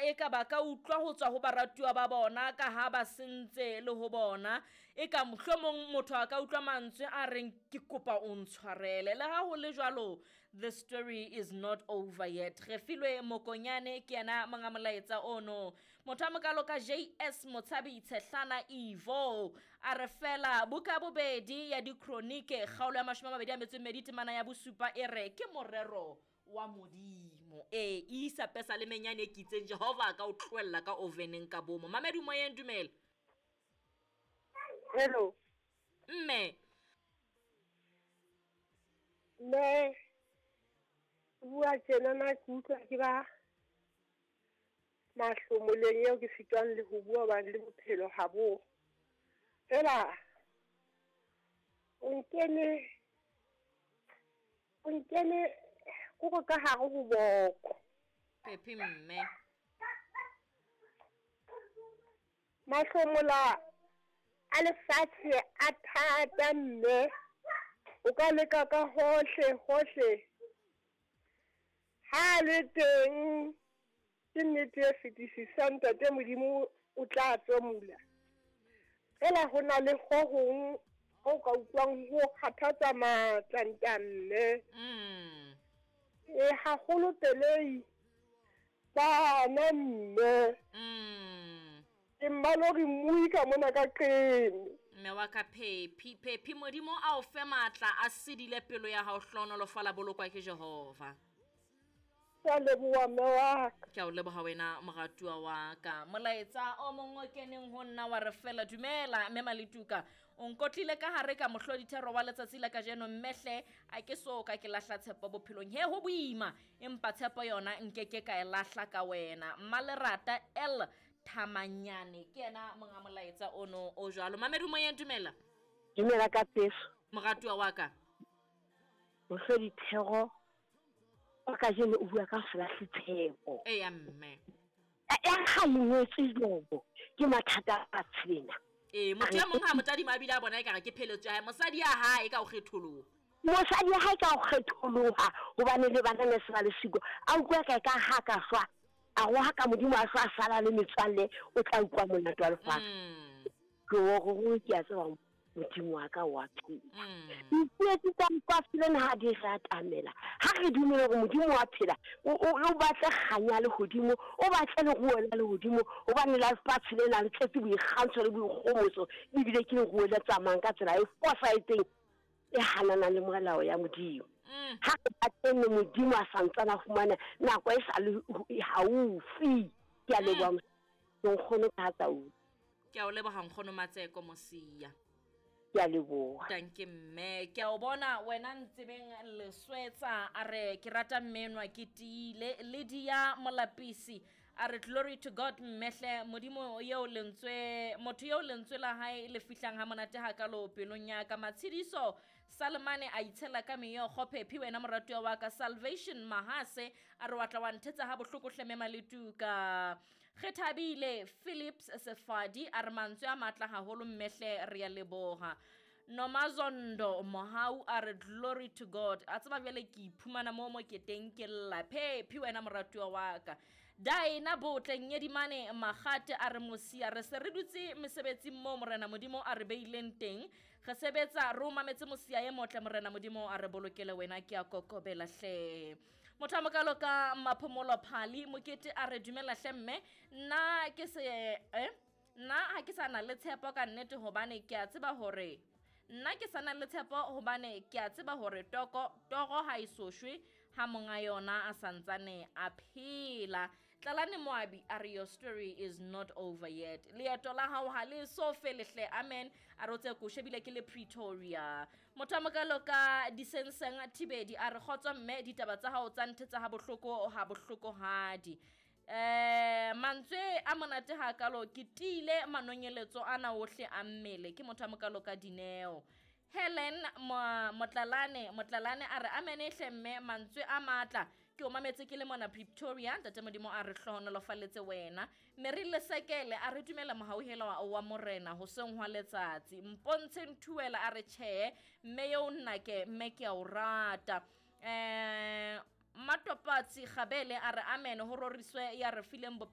eka ba ka utlwa ho tswa ho baratuwa ba bona ka ha ba sentse le ho bona. Eka mohlomong motho a ka utlwa mantswe a reng ke kopa o ntshwarele. Le ha ho le jwalo, the story is not over yet. Refilwe Mokonyane ke yena monga molaetsa ono. Motho a mokalo ka JS Motshabi Tshehlana Ivo a re fela buka bobedi ya dikronike kgaolo ya 22 temana ya bosupa e re ke morero wa Modimo. E isa pesa le menyane e kitseng Jehova a ka o tlohella ka oveneng ka bomo. Mamedi moyeng, dumela. Hello. Mme. Mme, bua tjena na ke utlwa ke ba mahlomoleng eo ke sitwang le ho bua hobane le bophelo ha bo. Fela o nkene kore ka hare ho boko. Phephi mme. Mahlomola a lefatshe a thata mme. O ka leka ka hohle hohle. Ha le teng ke nnete e fetisisang ntate Modimo o tla tsomula. Fela ho na le ho hong ho ka utlwang ho kgathatsa matla ntamme. E haholo pelei bana mme. Ke mmalori mmui ka mona ka qene. Mme wa ka Phephi, Phephi Modimo a o fe matla a sedile pelo ya hao, hlohonolofala bolokwa ke Jehova. Ke a leboha mme wa ka. Ke a o leboha wena moratuwa wa ka. Molaetsa o mong o keneng ho nna wa re fela dumela mme Maletuka. O nkotlile ka hare ka mohlodithero wa letsatsi la kajeno mmehle a ke so ka ke lahla tshepo bophelong. He ho boima empa tshepo yona nkeke ka e lahla ka wena. Mmalerata L Thamanyane ke yena monga molaetsa ono o jwalo. Mamedu moyeng, dumela. Dumela ka peso. Moratuwa wa ka. Mohlodithero wa kajeno o bua ka ho se lahle tshepo. Eya mme. Ya ha lengwetswe jobo ke mathata a tshena. Ee, motho e mong ha motadima a bile a bona ekare ke pheletso ya hae, mosadi ya hae ka ho kgetholoha. Mosadi ya hae ka ho kgetholoha hobane le bana ne se ba le siko. A utlwa ka ka ha ka shwa, a roha ka Modimo a shwa a sala le metswalle, o tla utlwa monate wa lefatshe. Ke o ke a tseba Modimo wa ka wa phela. Ditsietsi tsa lefatshe lena ha di re atamela, ha re dumele hore Modimo wa phela, o batle kganya lehodimo, o batle leruo la lehodimo, hobane la lefatshe lena le tletse boikgantsho le boikgomoso, ebile ke leruo le tsamayang ka tsela e fosahetseng e hananang le molao ya Modimo. Ha re batleng Modimo a santsana a fumana nako e sa le haufi. Ke a leboha nkgono ka tau. Ke a o leboha nkgono Matseko Mosia. Ke a leboha. Tanke mme, ke a o bona wena ntsebeng leswetsa a re ke rata mmenwa ke tiile. Lydia Molapisi a re glory to God mmehle Modimo eo lentswe motho eo lentswe la hae le fihlang ha monate hakalo pelong ya ka. Matshidiso Salemane a itshela ka meokgo. Phephi wena moratuwa wa ka. Salvation Mahase a re wa tla wa nthetsa ha bohloko hle mme Maletuka. Kgethabile Philips Sefadi a re mantswe a matla haholo mmehle re ya leboha. Nomazondo Mohau a re glory to God. A tseba bjale ke iphumana mo mo ke teng ke lla. Phephi wena moratuwa wa ka. Daina Botle Nyedimane Magate a re Mosia re se re dutse mesebetsing mo Morena Modimo a re beileng teng. Re sebetsa re o mametse Mosia e motle Morena Modimo a re bolokele wena ke a kokobela hle. Motho a mokalo ka Maphomolo Phali Mokete a re dumela hle mme nna ke se nna ha ke sa na le tshepo ka nnete hobane ke a tseba hore nna ke sa na le tshepo hobane ke a tseba hore toro ha e so shwe ha monga yona a santsane a phela. Tlalane Moabi a re your story is not over yet. Leeto la hao ha le so fele hle. Amen. A re o tse ko shebile ke le Pretoria. Motho a mokalo ka Disenseng Thibedi a re kgotso mme ditaba tsa hao tsa nthetsa ha bohloko ha bohlokohadi. Mantswe a monate hakalo ke tiile manonyeletso ana ohle a mmele. Ke motho a mokalo ka Dineo. Helen Motlalane a re amene hle mme mantswe a matla ke o mametse ke le mona Pretoria. Ntate Modimo a re hlohonolofaletse wena. Mary Lesekele a re dumela mohauhelo wa Morena hoseng hwa letsatsi. Mpontshe Nthuela a re tjhe mme eo nna ke mme ke a o rata. Matopatsi Gabele a re amen ho roriswe ya re fileng